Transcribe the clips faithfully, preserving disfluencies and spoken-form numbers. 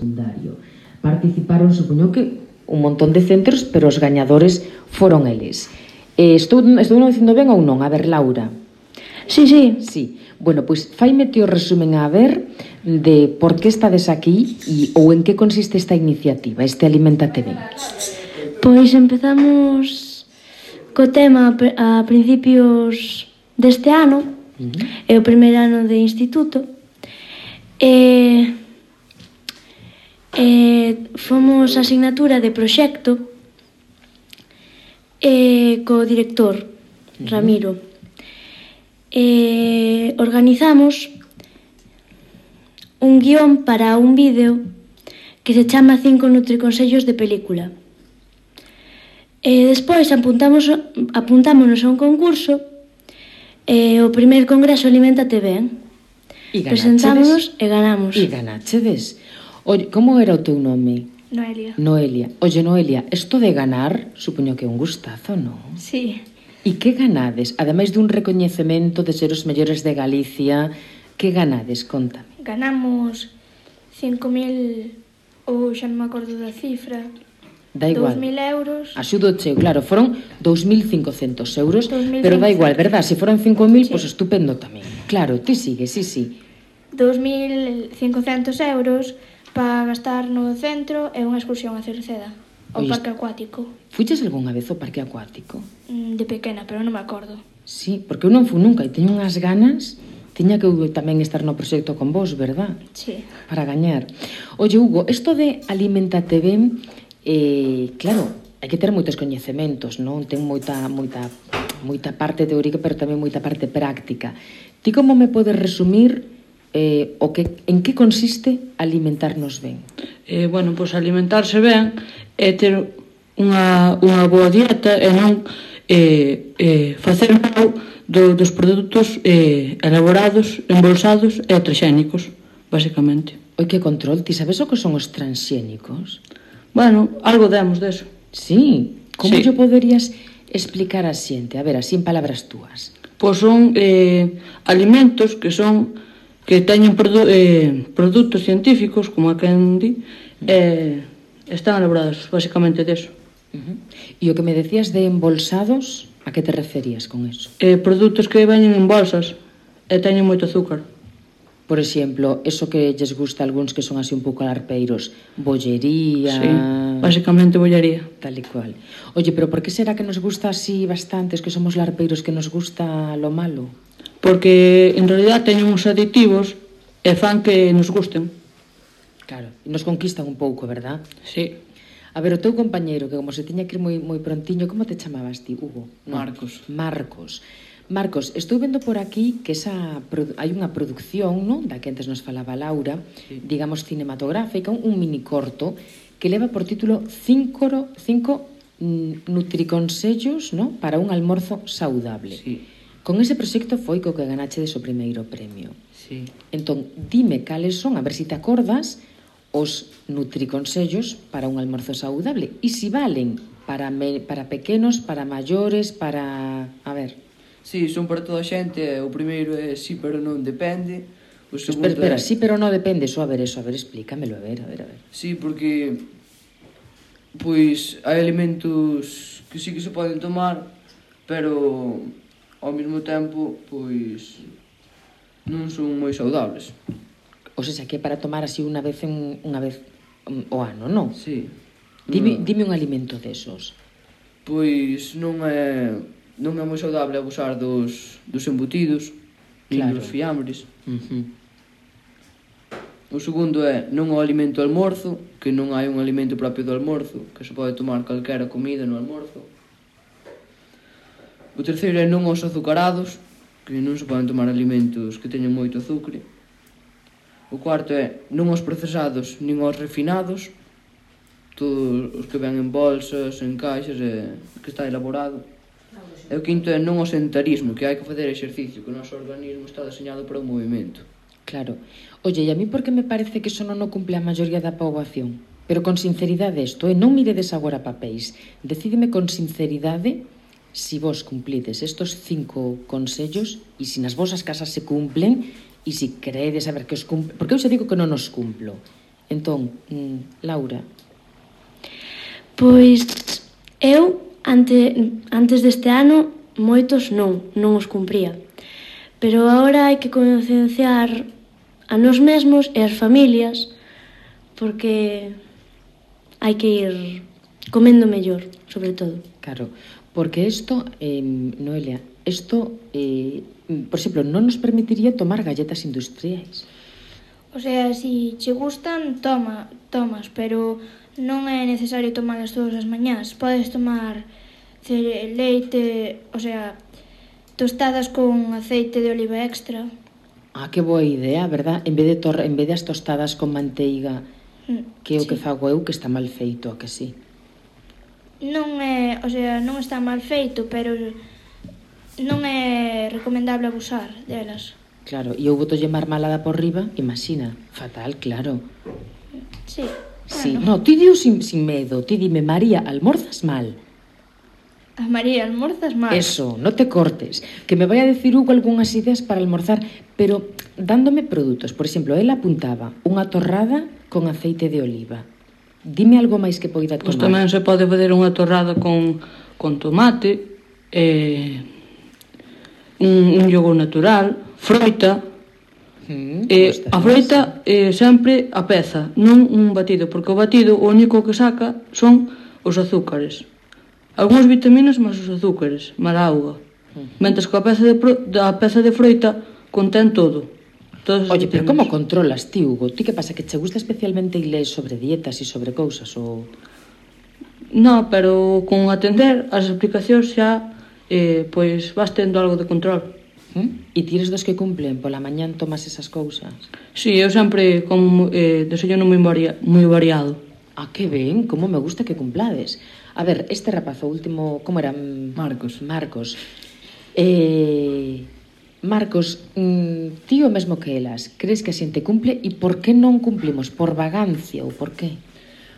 secundario. Participaron, supoño que, un montón de centros, pero os gañadores foron eles. Eh, estou, estou non dicindo ben ou non? A ver, Laura. Sí, sí. Sí. Bueno, pois faime ti o resumen a ver de por que estades aquí e, ou en que consiste esta iniciativa, este Aliméntate Ben. Pois empezamos co tema a principios deste ano, uh-huh. É o primeiro ano de instituto, e, e fomos a asignatura de proxecto e co director, uh-huh. Ramiro. E organizamos un guión para un vídeo que se chama Cinco Nutriconsellos de Película. E despois apuntamos, apuntámonos a un concurso, e o primeiro congreso Aliméntate Ben. E presentámonos e ganamos. E ganachedes. Oye, como era o teu nome? Noelia. Noelia. Oye, Noelia, isto de ganar, supoño que é un gustazo, non? Sí. E que ganades? Ademais dun recoñecemento de ser os mellores de Galicia, que ganades? Contame. Ganamos cinco mil, ou xa non me acordo da cifra. Da igual. dous mil euros. Axudo cheo, claro, foron dous mil cincocentos euros, dos mil pero da igual, verdad? Se foron cinco mil, sí. Pois pues estupendo tamén. Claro, ti sigue, sí, sí. dos mil cincocentos euros para gastar no centro e unha excursión a Cerceda, ao Oye, parque acuático. Fuches algunha vez ao parque acuático? De pequena, pero non me acordo. Sí, porque eu non fui nunca e teño unhas ganas. Tiña que eu tamén estar no proxecto con vos, verdad? Sí. Para gañar. Oye, Hugo, isto de Aliméntate Ben, eh, claro, hai que ter moitos coñecementos, non? Ten moita, moita, moita parte teórica, pero tamén moita parte práctica. Ti como me podes resumir eh, o que, en que consiste alimentarnos ben? Eh, bueno, pois alimentarse ben é ter unha, unha boa dieta e non eh, eh, facer mal do, dos produtos eh, elaborados, embolsados e transxénicos, basicamente. Oi, que control? Ti sabes o que son os transxénicos? Bueno, algo demos deso. Sí, como sí. yo poderías explicar a xente? A ver, así en palabras túas. Pois son eh, alimentos que son que teñen produ eh, produtos científicos, como a quen di, eh, están elaborados basicamente deso. Uh-huh. E o que me decías de embolsados, a que te referías con eso? Eh, produtos que veñen en bolsas e teñen moito azúcar. Por exemplo, eso que lles gusta a algúns que son así un pouco alarpeiros, bollería... Sí, basicamente bollería. Tal e cual. Oye, pero por que será que nos gusta así bastantes, que somos larpeiros, que nos gusta lo malo? Porque, en realidad, teñen uns aditivos e fan que nos gusten. Claro, e nos conquistan un pouco, verdad? Sí. A ver, o teu compañeiro, que como se tiña que ir moi, moi prontiño, como te chamabas ti, Hugo? No. Marcos. Marcos. Marcos, estou vendo por aquí que esa hai unha produción, non, da que antes nos falaba Laura, sí. digamos cinematográfica, un mini corto que leva por título Cinco, cinco nutriconsellos, non, para un almorzo saudable. Sí. Con ese proxecto foi co que ganachedes o primeiro premio. Sí. Entón, dime cales son, a ver se si te acordas, os nutriconsellos para un almorzo saudable e se si valen para, me, para pequenos, para maiores, para... a ver... Sí, son para toda a xente. O primeiro é sí, pero non depende. O segundo espera, espera, é... sí, pero non depende. Só a ver eso, a ver, explícamelo, a ver, a ver, a ver. Sí, porque pois hai alimentos que sí que se poden tomar, pero ao mesmo tempo, pois non son moi saudables. O sea, que é para tomar así unha vez en, unha vez o ano, non? Sí. Dime, no. dime un alimento desos. Pois non é non é moi saudable abusar dos, dos embutidos, claro. Dos fiambres. Uh-huh. O segundo é non o alimento almorzo, que non hai un alimento propio do almorzo, que se pode tomar calquera comida no almorzo. O terceiro é non os azucarados, que non se poden tomar alimentos que teñen moito azucre. O cuarto é non os procesados nin os refinados, todos os que ven en bolsas, en caixas, e que está elaborado. E o quinto é non o sedentarismo, que hai que facer exercicio, que o noso organismo está deseñado para o movimento. Claro. Oye, e a mí porque me parece que eso non o cumple a maioría da poboación? Pero con sinceridade isto, e non miredes agora papéis. Decídeme con sinceridade si vos cumplides estos cinco consellos e si nas vosas casas se cumplen e si creedes a ver que os cumplen. Porque eu xa digo que non os cumplo. Entón, mm, Laura. Pois eu, ante, antes deste ano, moitos non, non os cumpría. Pero agora hai que concienciar a nós mesmos e as familias, porque hai que ir comendo mellor, sobre todo. Claro, porque isto, eh, Noelia, isto, eh, por exemplo, non nos permitiría tomar galletas industriais. O sea, si che gustan, toma, tomas, pero non é necesario tomalas todas as mañás. Podes tomar cere- leite, o sea, tostadas con aceite de oliva extra. Ah, que boa idea, verdad? En vez de, tor en vez de as tostadas con manteiga, que é o Sí. que fago eu, que está mal feito, a que sí? Non é, o sea, non está mal feito, pero non é recomendable abusar delas. Claro, e eu botolle marmalada por riba, imagina, fatal, claro. Sí. Sí, Bueno, no, ti diu sin, sin medo, ti dime, María, almorzas mal. a María, almorzas mal. Eso, no te cortes. Que me vai a decir Hugo algunhas ideas para almorzar, pero dándome produtos. Por exemplo, él apuntaba unha torrada con aceite de oliva. Dime algo máis que poida Pois tomar. tamén se pode fazer unha torrada con, con tomate, eh, un, un yogur natural, froita. Mm, Eh, pues a froita eh, sempre a peza, non un batido, porque o batido o único que saca son os azúcares. Algúns vitaminas máis os azúcares, máis a auga. Mentres que a peza de, pro, a peza de froita contén todo. Todas as Oye, pero vitaminas. como controlas, ti, Hugo? Ti que pasa, que che gusta especialmente ir ler sobre dietas e sobre cousas, ou... No, pero con atender as explicacións xa eh, pois vas tendo algo de control. ¿Mm? E tires dos que cumplen, pola mañán tomas esas cousas? Sí, eu sempre como eh, desayuno moi, varia, moi variado. Ah, que ben, como me gusta que cumplades. A ver, este rapazo último, como era? Marcos. Marcos. Eh, Marcos, mm, ti o mesmo que elas, crees que a xente cumple e por que non cumplimos? Por vagancia ou por qué?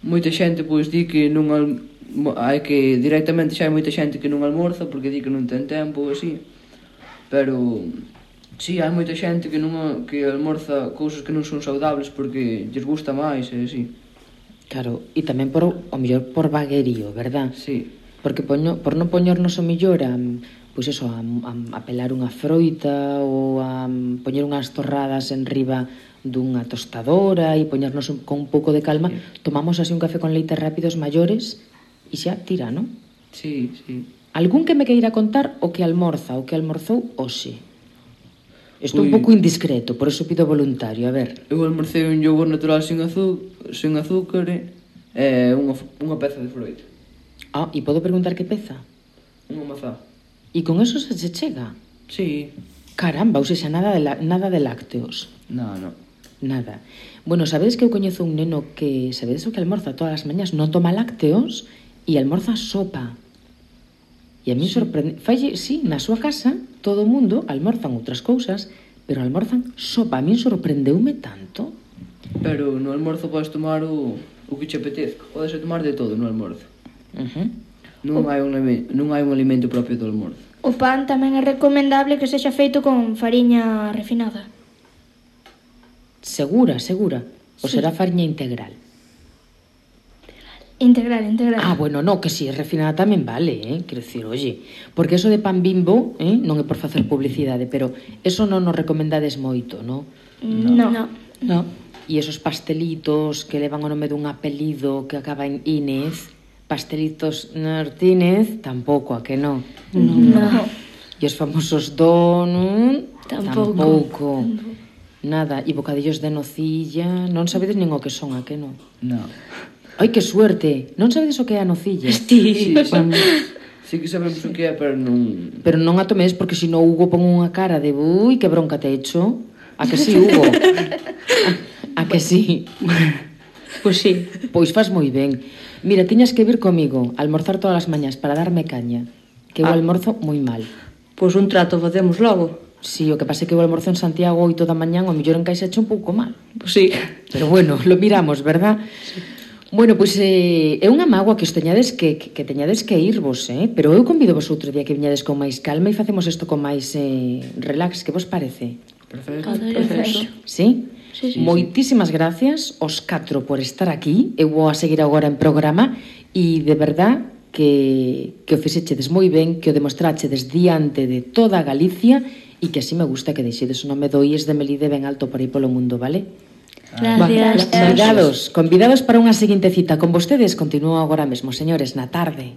Moita xente pois di que non al... hai que directamente xa hai moita xente que non almorza porque di que non ten tempo ou así. Pero si, sí, hai moita xente que non que almorza cousas que non son saudables porque lles gusta máis e así. Claro, e tamén por, o mellor por vaguerío, verdad? Sí. Porque poño, por non poñernos o mellor a, pois eso, a, a, a pelar unha froita ou a poñer unhas torradas en riba dunha tostadora e poñernos un, con un pouco de calma, sí. Tomamos así un café con leite rápidos maiores e xa tira, non? Sí, sí. Algún que me queira contar o que almorza, o que almorzou hoxe? Estou un Ui. pouco indiscreto, por eso pido voluntario, a ver. Eu almorcei un yogur natural sin, azú sin azúcar e unha, unha peza de froita. Ah, e podo preguntar que peza? Unha mazá. E con eso se se chega? Sí. Caramba, ou sexa, nada de, la, nada de lácteos. No, no. Nada. Bueno, sabedes que eu coñezo un neno que, sabedes o que almorza todas as mañas? Non toma lácteos e almorza sopa. E a mí sí. sorprende... Falle, sí, na súa casa, todo o mundo almorzan outras cousas, pero almorzan sopa. A mí sorprendeume tanto. Pero no almorzo podes tomar o, o que che apetezca. Podes tomar de todo no almorzo. Uh -huh. Non, hai un, non hai un alimento propio do almorzo. O pan tamén é recomendable que sexa feito con fariña refinada. Segura, segura. O Sí. será fariña integral. Integral, integral. Ah, bueno, no, que si é refinada tamén vale, eh? Quero dicir, oye, porque eso de pan Bimbo, eh? Non é por facer publicidade, pero eso non nos recomendades moito, no? No. No. No. E esos pastelitos que levan o nome dun apelido que acaba en Inés, pastelitos Martínez, tampouco, a que non? No. no. E os famosos donut, Tampouco. tampouco. Nada, e bocadillos de nocilla, non sabedes nin o que son, a que non? No. Ai, que suerte, non sabedes o que é a nocilla? Sí, bueno, Sí que sabemos o que é, pero non... Pero non a tomes porque se no Hugo pon unha cara de ui, que bronca te he hecho. A que sí, Hugo? A, a que sí? pois sí. Pois faz moi ben. Mira, tiñas que vir comigo a almorzar todas as mañas para darme caña. Que eu Ah. almorzo moi mal. Pois un trato facemos logo. Si, o que pasa é que eu almorzo en Santiago oito da mañán, o mellor en Caixa eche un pouco mal. Pois sí. Pero bueno, lo miramos, verdad? Sí. Bueno, pois eh, é unha mágoa que os teñades que, que, que teñades que irvos, eh? Pero eu convido vos outro día que viñades con máis calma e facemos isto con máis eh, relax, que vos parece? Perfecto. Perfecto. Sí? Sí, sí. Moitísimas gracias aos catro por estar aquí. Eu vou a seguir agora en programa e de verdad que, que o fixechedes moi ben, que o demostrachedes diante de toda Galicia e que así me gusta que deixedes o nome do I E S de Melide ben alto por aí polo mundo, vale? Gracias. Convidados, convidados para unha seguinte cita con vostedes. Continúo agora mesmo, señores, na tarde.